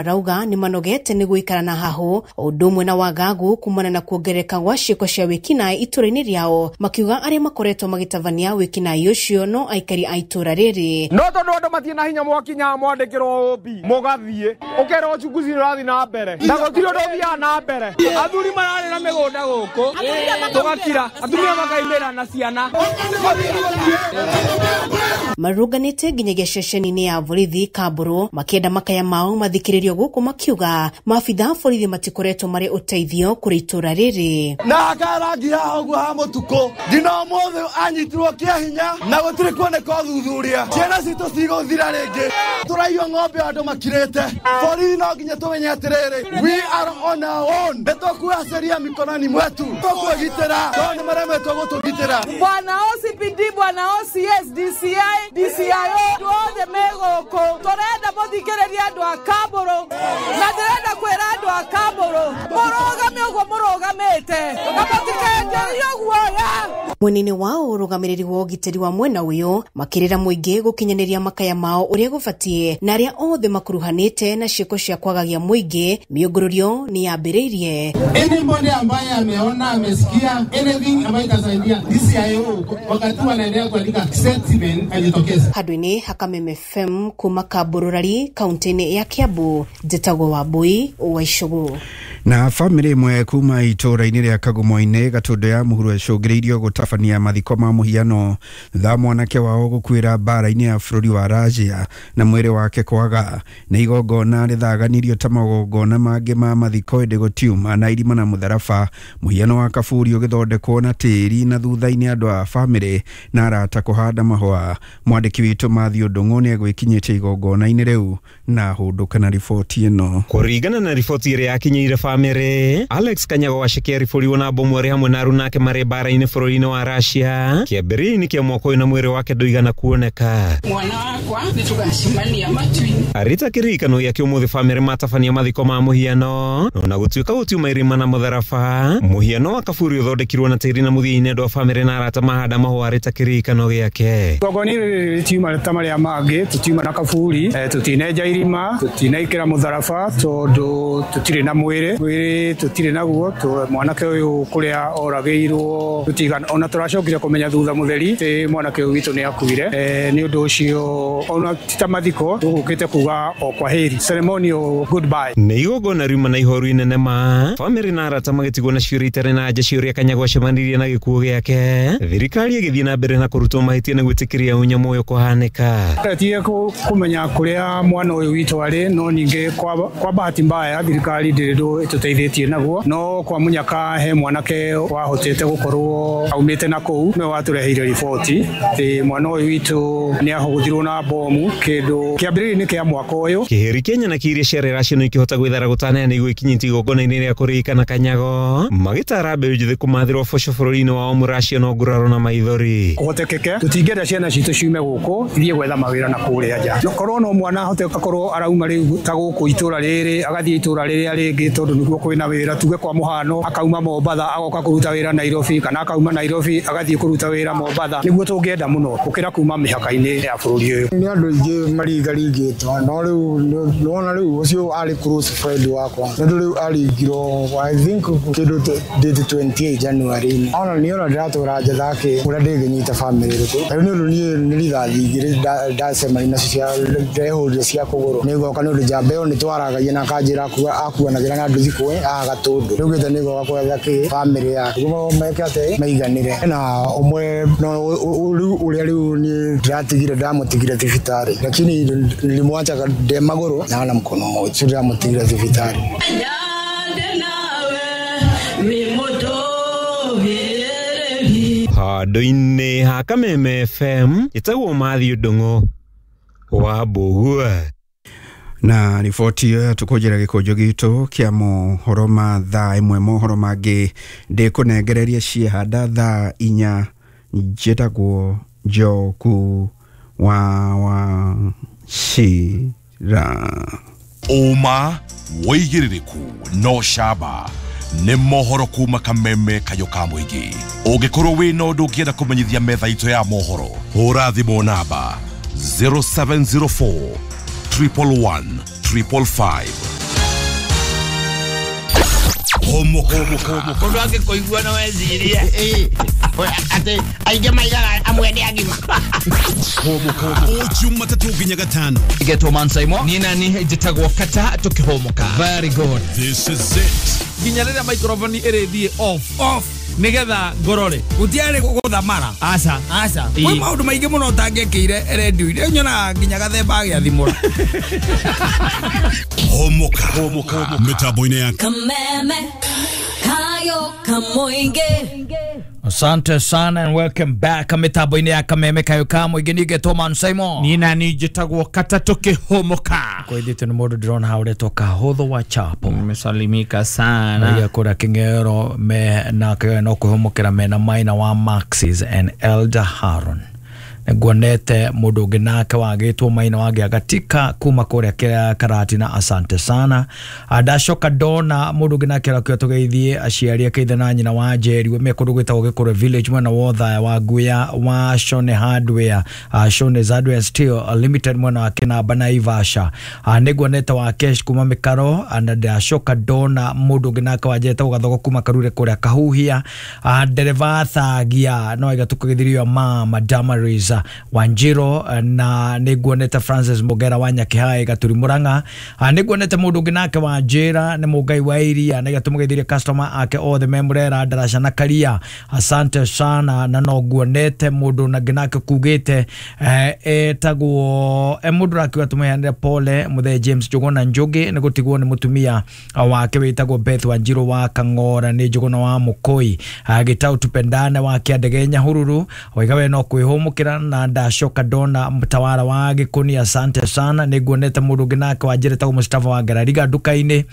Marauga nĩ manogete nĩ gũikara na hahũ ũndũ ũmwe na wagagu kumana na kuongerereka gwa ciĩko cia wĩkinaĩ itũra-inĩ rĩao, makiuga arĩa makoretwo magĩtabania wĩkinaĩ ũcio no aikari a itũra rĩrĩ. No tondũ andũ matirĩ na hinya mwakinya mwandĩkĩrwo ũmbi mũgathiĩ ũkerwo uchunguzi ũrathiĩ na mbere na gũtirĩ ũndũ ũthiaga na mbere. Athuri mararĩ na mĩgũnda gũkũ tũgakira, atumia makaimĩra na ciana. Marũnganĩte nginyagia ceceni-inĩ ya borithi Kamburu makĩenda makaya mao mathikĩrĩrio gũkũ, makiuga maabitha a borithi matikoretwo marĩ ũteithio kũrĩ itũra rĩrĩ. Na hakarangi haha ũguo ha mũtukũ nginya ũmũthĩ anyitirwo kĩa hinya na gũtirĩ kuoneka ũthuthuria. Ciana citũ cigũthira rĩngĩ, tũraiywo ng'ombe andũ makirĩte. Borithi no nginya tũmenye atĩrĩrĩ, we are on our own, nĩ tũkuoya sheria mikononi mwetu, tũkwĩgitĩra tondũ nĩ maremetwo gũtũgitĩra. Bwana OCPD, bwana OCS, DCI, DCIO, andũ othe me gũkũ tũrenda mũthikĩrĩrie andũ a Kamburu, na ndĩrenda kwĩra andũ a Kamburu mũrũgame ũguo mũrũgamĩte na mũtikenjerio guoya. Mwena-inĩ wao ũrũgamĩrĩri wa ũgitĩri wa mwena ũyũ makĩrĩra mũingĩ gũkinyanĩria makaya mao ũrĩa gũbatiĩ, na arĩa othe makuruhanĩte na ciĩko cia kwagagia mũingĩ mĩũngũrũrio nĩ yambĩrĩirie. Anybody ambaye ameona amesikia anything ambayo itasaidia DCIO wakati wanaendelea kuandika statement ajitokeze. Handũ-inĩ ha Kameme FM kuma Kambururari kaunti-inĩ ya Kiambu, njĩtagwo Wambui wa Icũgũ. Na bamĩrĩ ĩmwe kuma itũũra-inĩ rĩa Kagumo-inĩ Gatũndũ ya mũhuro ĩcũngĩrĩirio gũtabania mathiko ma mũhiano thutha mwanake wao gũkuĩra mbara-inĩ ya bũrũri wa Russia na mwĩrĩ wake kwaga. Nĩ igongona rĩthaganirio ta magongona mangĩ ma mathiko ĩndĩ gũtiuma na irima na mũtharaba. Mũhiano wa kaburi ũgĩthondekwo na tĩri na thutha-inĩ andũ a bamĩrĩ na arata kũhanda mahũa. Mwandĩki witũ Matthew Ndung'u nĩ egwĩkinyĩtie igongona-inĩ rĩu na hũndũka na riboti ĩno. Kũringana na riboti ĩrĩa yakinyĩire bamĩrĩ, Alex Kanyago wa Cekeri na bomu arĩ hamwe na aruna ake marĩ mbara-inĩ bũrũri-inĩ wa Russia kĩambĩrĩria-inĩ kĩa mwaka ũyũ na mwĩrĩ wake ndũigana kuoneka. Mwana wakwa nĩ tũgacemania matu-inĩ. Arĩ ta kĩririkano gĩake ũmũthĩ bamĩrĩ matabania mathiko ma mũhiano ona gũtuĩka gũtiuma irima na mũtharaba. Mũhiano wa kaburi ũthondekirwo na tĩri na mũthia-inĩ andũ a bamĩrĩ na arata mahanda mahũa arĩ ta kĩririkano gĩake. Igongona rĩrĩ rĩtiuma ta marĩa mangĩ, tũtiuma na kaburi, tũtinenja irima, tũtinaikĩra mũtharaba tondũ tũtirĩ na mwĩrĩ, mwĩrĩ tũtirĩ naguo. Mwanake ũyũ kũrĩa oragĩirwo tũtigana, ona tũracokire kũmenya thutha mũtheri atĩ mwanake ũyũ witũ nĩ akuire. Nĩ ũndũ ũcio ona ti ta mathiko tũgũkĩte kuga o kwaheri, ceremonial goodbye. Nĩ igongona riuma na ihoru inene ma bamĩrĩ na arata magĩtigwo na ciũria itarĩ na anja ciũria Kanyago acemanirie na gĩkuũ gĩake. Thirikari ĩgĩthiĩ na mbere na kũrutwo mahĩtia na gwĩtĩkĩria ũnyamũ ũyũ kũhanĩka. Twetie kũmenya kũrĩa mwana ũyũ witũ arĩ, no ningĩ kwa bahati mbaya thirikari ndĩrĩ ndũ ĩtũteithĩtie naguo, no kwa mũnyaka he mwanake wahotete gũkorwo aumĩte na kũu nĩwe watũreheire riboti atĩ mwana ũyũ witũ nĩ ahũthirwo na bomu kĩndũ kĩambĩrĩria-inĩ kĩa mwaka ũyũ. Kĩhĩri kĩa nyanaki iria ciarĩ Russia no ikĩhota gwĩthara gũtaneana nĩguo ikinyĩtie igongona-inĩ rĩa kũririkana Kanyago, magĩtara mbeũ njĩthĩ kũmathĩrwo boco bũrũri-inĩ wao Mũracia no nguraro na maithori. Kũhotekeke tũtingĩenda ciana citũ ciume gũkũ ithiĩ gwetha mawĩra na kũrĩa nja. No korwo no mwana ahote akorwo arauma rĩu ta gũkũ itũra rĩrĩ agathiĩ itũra rĩrĩa rĩngĩ tondũ nĩguo kwĩna wĩra, tuge kwa mũhano akauma Mombatha agoka kũruta wĩra Nairobi, kana akauma Nairobi agathiĩ kũruta wĩra Mombatha, nĩguo tũngĩenda mũno gũkĩra kuma mĩhaka-inĩ ya bũrũri ũyũ. Nĩ andũ aingĩ maringaringĩtwo, no rĩu nĩwona rĩu ũcio arĩ close friend wakwa, tondũ rĩu aringirwo I think kĩndũ date 28 January-inĩ. Ona niĩ ona ndĩratũra njetha kĩ ũrĩa ndĩngĩnyita bamĩrĩ ĩrĩkũ. Rĩu nĩ ũndũ niĩ nĩ rithathi igĩrĩ ndacemania nacio cia ndehũrire cia kũgũrũ, nĩ ngoka nĩ ũndũ njamba ĩyo nĩ twaragagia na akanjĩra akuanagĩra na nduthi kũĩ haha Gatũndũ. Rĩu gĩte nĩ ngoka gwetha kĩ bamĩrĩ yake nĩguo meke atĩ maiganĩre. Na ũmwe no rĩu ũrĩa rĩu niĩ ndĩratigire ndamũtigire thibitarĩ, lakini nilimwacha ndĩ magũrũ na ana mkono mmoja, sio ndĩramũtigire thibitarĩ. Handũ-inĩ ha Kameme FM ĩtagwo Matthew Ndung'u wa Mbũgua. Na riboti ĩyo tũkũnjĩra gĩkũnjo gitũ kĩa mohoro ma thaa ĩmwe, mohoro mangĩ ndĩkũnengereria ciehanda thaa 4. Njĩtagwo Njoku wa Wachira. Ũma wĩigĩrĩrĩku no camba nĩ mohoro kuma Kameme kayũ ka mũingĩ. Ũngĩkorwo wĩna ũndũ ũngĩenda kũmenyithia metha itũ ya mohoro, hũra thimũ namba 0704 111 555. Homoka. Mundu angĩkũigua no ecirie atĩ aingĩ maigaga amwe nĩ agima. O Jumatatũ nginya Gatano. Getwo Mansaimo. Niĩ nani njĩtagwo Kata tũkĩhũmũka. Very good. This is it. Nginya rĩrĩa microphone ĩrĩthiĩ off off nigetha ngorore gutiarĩ gũthamara. Aca aca, kwĩ maũndũ maingĩ mũno ũtangĩkĩire redio-inĩ, nyonaga nginya gathemba agĩathimũra. Homoka. Mitambo-inĩ ya Kameme kayo kamoinge. Asante sana and welcome back mitambo-inĩ ya Kameme kayo ka mũingĩ. Nĩngetwo Man Simon. Niĩ nani njĩtagwo Kata tũkĩhũmũka. Kwĩthĩtwo nĩ mũndũ ndĩrona hau ũretwo Kahũthũ wa Chapo. Nimesalimika sana. Naiga kũrĩa Kĩng'ero me na kĩo no kwĩhũmũkĩra mena Maina wa Maxis and Elder Haron. Nguonete mũndũ ũngĩ nake wagĩtwo Maina wa Gĩagatika kuma kũrĩa Karatina, asante sana. Ndacoka ndona mũndũ ũngĩ nake arakĩo tũgeithie aciari ake ithe na nyina wa Njeri me kũndũ gwĩtagwo Gĩkũrwe Village mwena wa Othaya wa Nguya wa Shone Hardware, Shone Hardware Steel Limited mwena wa Kĩnamba na Ivasha. Nĩnguonete wa Kesh kuma Mĩkaro, na ndacoka ndona mũndũ ũngĩ nake wa Njeri Gathogo kuma Karure kũrĩa Kahuhia. Ndereba Thagia no aiga tũkĩgeithirio mama Damaris Wanjiro, na nĩnguonete Francis Mugera wa Nyakĩhaĩ Gaturi Murang'a. Nĩnguonete mũndũ ũngĩ nake wa Njĩra nĩ Mũngai wa Iria, nĩgetha tũmũgeithirie customer ake othe me Murera Ndaraca na Karia, asante sana. Na no nguonete mũndũ nangĩ nake kugĩte etagwo mũndũ rakiuga tũmũheanĩre pole mũthee James Njũgũna Njũgĩ nĩ gũtigwo nĩ mũtumia wake wĩtagwo Beth Wanjirũ wa Kang'ora nĩ Njũgũna wa Mũkũi. Gĩtau Tupendane wa Kĩandege Nyahururu waiga we no kwĩhũmũkĩra. Na ndacoka ndona mtawara wa Gĩkũni, asante sana. Nĩnguonete mũndũ ũngĩ nake wa Njĩra etagwo Mustafa wa Ngarariga nduka-inĩ,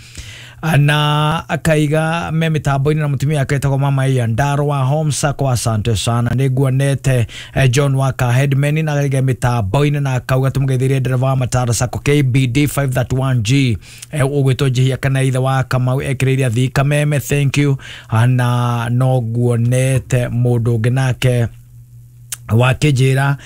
na akaiga me mitambo-inĩ na mũtumia wake etagwo Mama Ia Ndaro wa Home Sacco, asante sana. Nĩnguonete John wa Headman na akaiga mitambo-inĩ na akauga tũmũgeithĩrie ndereba wa Matara Sacco KBD 531G ũgwĩtwo Njihia kana ithe wa Kamau ekĩrĩire athii Kameme, thank you. Na no nguonete mũndũ ũngĩ nake wakijira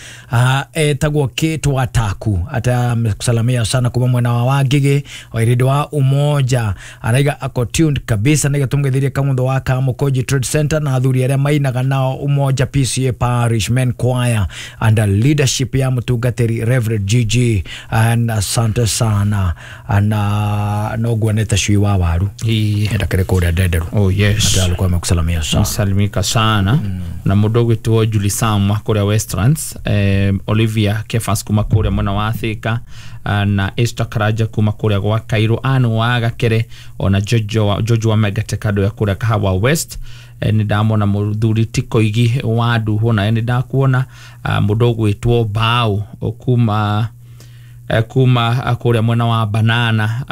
etagwo Kate Wataku ata amekusalamia sana kuma mwena wa Wangige wairido wa Umoja, araiga ako tuned kabisa niga tumgethirie kamutho wa Kamukoji Trade Center na athuri aria mainaga nao Umoja PCA Parish Men Choir under leadership ya mutungatiri Reverend GG, and asante sana. Na no guonete cui wa waru ndakire kuria ndenderu. Oh yes, ata alikuwa amekusalamia sana. Salimika sana. Na mũndũ ũgwĩtwo Julie Sam wa kũrĩa Westlands, Olivia Kefas kuma kũrĩa mwena wa Thika, na Esther Karaja kuma kũrĩa gwa Cairo, Anu wa Gakere, ona Jojo wa Megateka ya kũrĩa Kahawa West. Nĩ ndamona mũthuri Tikoigi wa Nduhu, na nĩ ndakuona mũndũ ũgwĩtwo Bao kuma kuria mwena wa Banana,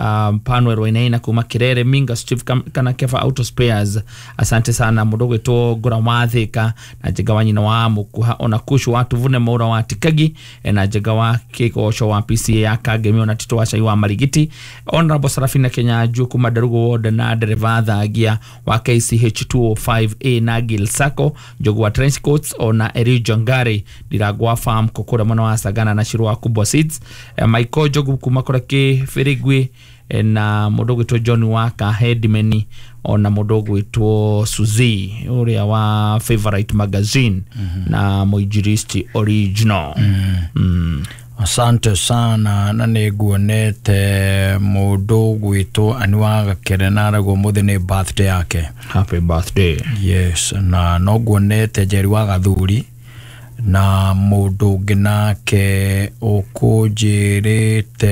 Panwero Wainaina kuma Kirere, Minga Steve kana Kefa Auto Spares, asante sana. Mũndũ ũgwĩtwo Ngũra wa Thika na Njega wa nyina wa Mũkuha, ona Kushu wa Tuvune Maura wa Tikagi, na Njega wa Kĩgoco wa PCA ya Kangemi, ona Tito wa Cai wa Marigiti, Honorable Sarafina Kenyanju kuma Ndarugo Ward, na Dereva Thagia wa KCH 205A na Gil Sacco, Njogu wa Trench Coats, ona Eri Jongari Ndiragwa Farm kokora mwena wa Sagana na Shiru wa Kubwa Seeds, Michael Njogu kuma kũrĩa Kĩbĩrĩgwi, na mũndũ ũgwĩtwo John Waka Headman, ona mũndũ ũgwĩtwo Suzy ũrĩa wa Favorite Magazine, na Mũinjilisti Original. Asante sana. Na nĩnguonete mũndũ ũgwĩtwo Anu Gakere na aragwo mũthĩ nĩ birthday yake. Happy birthday. Yes, na no nguonete Njeri wa Gathuri na mũndũ ũngĩ nake ũkũnjĩrĩte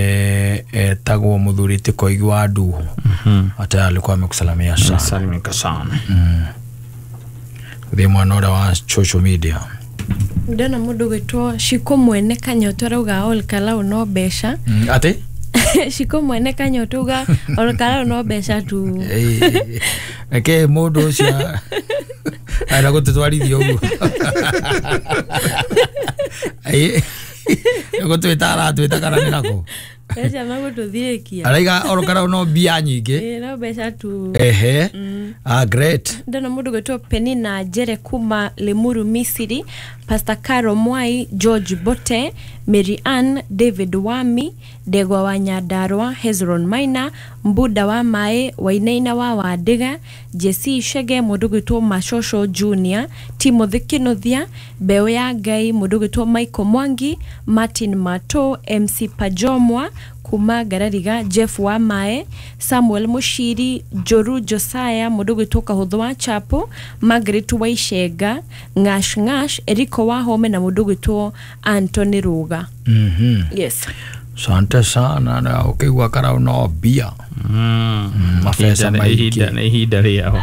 etagwo mũthuri Tikoigi wa Nduhu. Ata alikuwa amekusalamia sana. Salimika sana. Thiĩ mwena ũrĩa wa social media. Ndona mũndũ ũgwĩtwo Shiko Mwene Kanyoto arauga Ol Kalou no mbeca. Atĩ? Shiko Mwene Kanyoto uga Ol Kalou no mbeca tu. Reke mũndũ ũcio ara gũtũtwarithia ũguo. Gũtwĩta aratwĩta kana nĩ nako? Mbeca magũtũthiĩkia. Araiga Ol Kalou no mbia nyingĩ. Ĩĩ no mbeca tu. Ehe. Ah, great. Ndona mundu gwitwo Penina Njere kuma Limuru Misiri, Pastor Caro Mwai, George Bote, Mary Ann, David Wami, Ndegwa wa Nyandarua, Hezron Maina, Mbuda wa Mae, Wainaina wa Wandiga, Jesse Shege, mundu gwitwo Mashosho Junior, Timothy Kinuthia, Mbeu ya Ngai, mundu gwitwo Michael Mwangi, Martin Mato, MC Pajomwa kuma Ngarariga, Jeff wa Mae, Samuel Mushiri, Joru Josiah, mundu gwitwo Kahuthu wa Chapo, Margaret Waichenga, Ngash Ngash, Eriko wa Home na mundu gwitwo Anthony Ruga. Yes. Sante sana na ukigwa karau no bia. Mabesa maingĩ. Nĩ ihinda rĩao.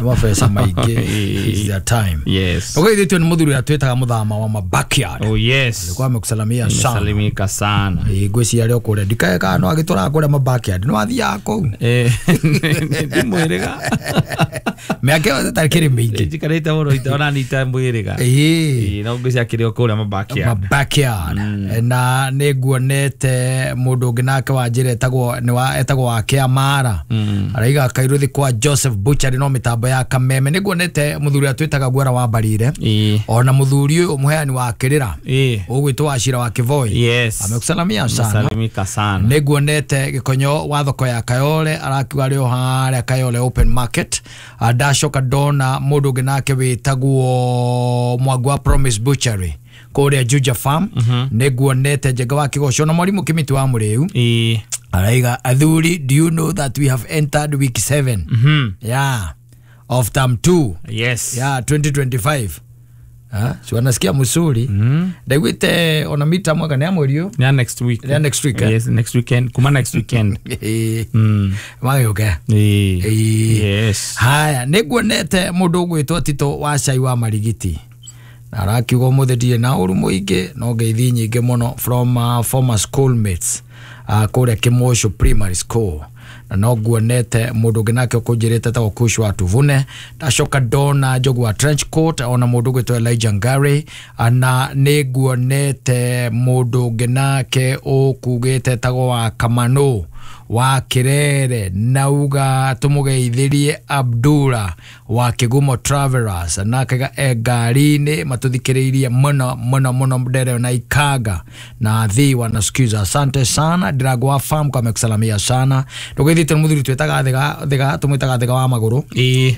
Mabesa maingĩ is their time. Yes. Ũgeithĩtio nĩ mũthuri ũrĩa twĩtaga mũthama wa ma backyard. Oh yes. Alikuwa amekusalamia sana. Nimesalimika sana. Ngwĩciria arĩ o kũrĩa ndikae kana no agĩtũraga kũrĩa ma backyard no athiaga kũu. Ndimwĩrĩga. Mĩaka ĩyo ĩtarĩ kĩrĩ mĩingĩ. Njikarĩte mũno itonanita mwĩrĩga. No ngwĩciria akĩrĩ o kũrĩa ma backyard. Ma backyard. Na nĩ nguonete mũndũ ũngĩ nake wa njĩra etagwo nĩ wa etagwo wa Kĩamara. Araiga Kairuthi kwa Joseph Butchery no mĩtambo ya Kameme. Nĩ nguonete mũthuri ũrĩa twĩtaga Guara wa Mbarire. Ona mũthuri ũyũ mũheani wa kĩrĩra ũgwĩtwo Wachira wa Kĩvoi. Yes. Amekusalamia sana. Amesalimika sana. Nĩ nguonete Gĩkonyo wa thoko ya Kayole arakiuga arĩ o harĩa Kayole open market. Ndacoka ndona mũndũ ũngĩ nake wĩtagwo Mwangu wa Promise Butchery kũrĩa Juja Farm. Nĩ nguonete Njenga wa Kĩgoco na mwarimũ Kĩmĩti wa Mũrĩu. Araiga athuri, do you know that we have entered week 7 yeah, of term 2? Yes. Yeah, 2025. Si wanasikia msuri. Ndaiguite ona mita mwaka ni mweri ũyũ. Yeah, next week. Yeah, next week. Yes, next weekend. Kuma next weekend. Magĩũke. Yes. Haya, nĩ nguonete mũndũ ũgwĩtwo Tito wa Cai wa Marigiti. Na arakiuga ũmũthĩ ndirĩ na ũru mũingĩ no ngeithi nyingĩ mũno from former schoolmates kũrĩa Kĩmosho Primary School. Na no nguonete mũndũ ũngĩ nake ũkũnjĩrĩte etagwo Kush wa Tuvune. Ndacoka ndona Njogu wa Trench Coat ona mũndũ ũgwĩtwo Elijah Ngari. Na nĩ nguonete mũndũ ũngĩ nake ũkugĩte etagwo wa Kamano wa Kirere nauga tũmũgeithĩrie Abdullah wa Kĩgumo Travelers nake e ngari-inĩ matũthikĩrĩirie mũno mũno mũno Ndere na Ikanga na thi wanasikiza. Asante sana Ndirago wa Farm kwa amekusalamia sana. Ndũgeithĩtio nĩ mũthuri twĩtaga Thiga tũmwĩtaga Thiga wa magũrũ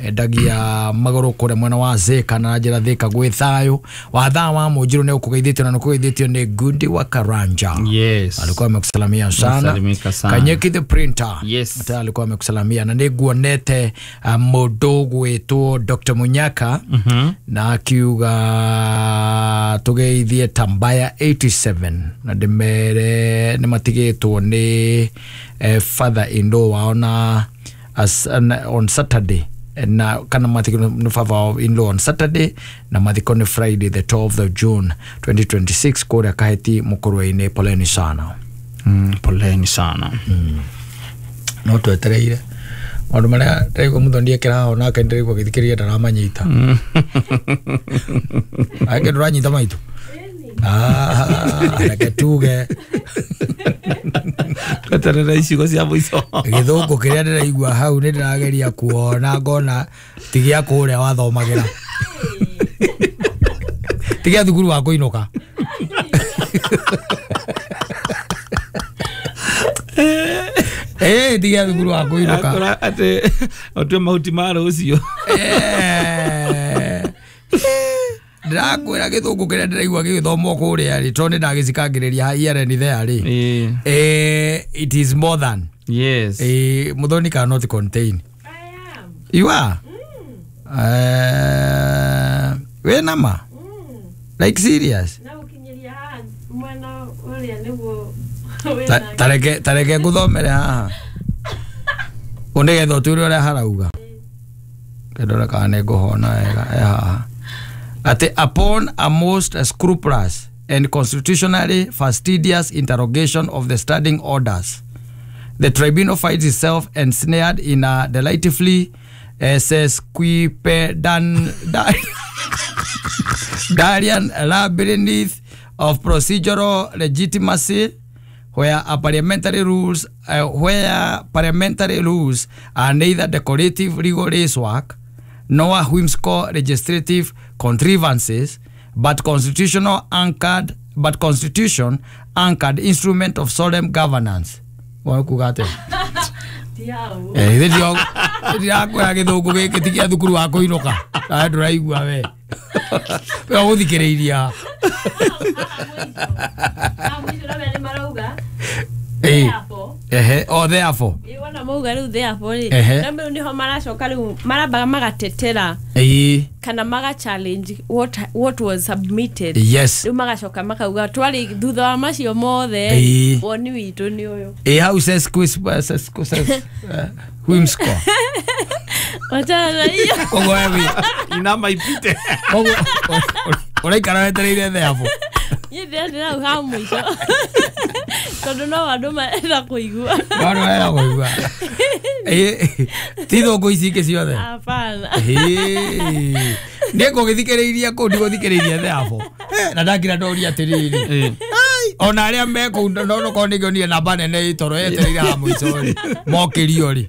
endagia magũrũ kũrĩa mwena wa Thika na njĩra Thika gwĩ thayũ wa thaa wa Mũnjirũ nĩ ũkũgeithĩtio na nĩ ũkũgeithĩtio nĩ Gundi wa Karanja. Yes. Alikuwa amekusalamia sana. Kanyeki the printer. Yes. Ata alikuwa amekusalamia na nĩ nguonete mũndũ gwĩtwo Dr. Munyaka na akiuga tũgeithie Tambaya 87 na ndĩmere nĩ matigĩtwo nĩ father in law wao na on Saturday na kana mathiko nĩ father in law on Saturday na mathiko nĩ Friday the 12th of June 2026 kũrĩa Kaheti Mũkũrwe-inĩ. Poleni sana. Poleni sana. No twetereire maũndũ marĩa ndĩraigua mũthoni ekĩra haha onake ndĩraigua agĩthikĩrĩria ndaramanyita. Angĩ ndũranyita maitũ. Reke tuge tweterere icigo cia mũico. Gĩthũngũ kĩrĩa ndĩraigua hau nĩ ndĩrageria kuona ngona ti gĩa kũrĩa wathomagĩra. Ti gĩa thukuru wa kũinũka. Tiga thukuru wa kũinũka. Atĩ ũtue mahuti ma rũciũ. Ndĩrakwĩra gĩthũngũ kĩrĩa ndĩraigua gĩgĩthomwo kũrĩa rĩ tondũ nĩ ndagĩcikangĩrĩria here and there rĩ. It is more than. Yes. Muthoni cannot contain. I am. You are? We nama? Like serious? Na ũkinyĩria haha mwena ũrĩa nĩguo tareke nguthomere haha nĩgetha ũtwĩre ũrĩa harauga ndore kana nĩ ngũhona wega haha atĩ upon a most scrupulous and constitutionally fastidious interrogation of the standing orders the tribunal finds itself ensnared in a delightfully sesquipedalian labyrinth of procedural legitimacy Where a parliamentary rules where parliamentary rules are neither decorative legal lacework nor whimsical legislative contrivances, but constitution anchored instrument of solemn governance. Kuga atia? Ndirakwĩra gĩthũngũ gĩkĩ ti gĩa thukuru wa kũinũka. Nawe ndũraigua we. We ũgũthikĩrĩiria. Ehe, o therefore. Wona mauga rĩu therefore rĩ. Na rĩu nĩho maracoka rĩu marambaga magatetera. Kana maga challenge what was submitted. Yes. Rĩu magacoka makauga twari thutha wa macio mothe woni witũ nĩ ũyũ. How says quiz whimsical. Wachana hiyo. Koguo wewe inama ipite. Koguo ũraikara wetereire therefore. Niĩ ndĩrenda hau ha mũico. Tondũ no andũ marenda kũigua. No andũ marenda kũigua. Ti thũngũ ici ingĩ ciothe. Hapana. Niĩ ngũgĩthikĩrĩiria kũu ndigũthikĩrĩiria therefore. Na ndakira ndoria atĩrĩrĩ. Ona arĩa me kũu no nokorwo nĩngĩonire namba nene ĩtoro yetereire ha mũico rĩ. Mokĩrio rĩ.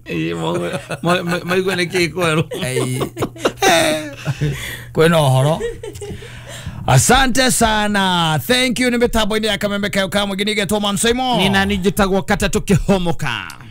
Maigue nĩkĩĩ kwerũ. Kwĩna ũhoro. Asante sana. Thank you. Ni mitambo-inĩ ya Kameme Kayo ka Mũingĩ nĩgetwo Mansoimo. Nina njĩtagwo Katatũ Kĩhomoka.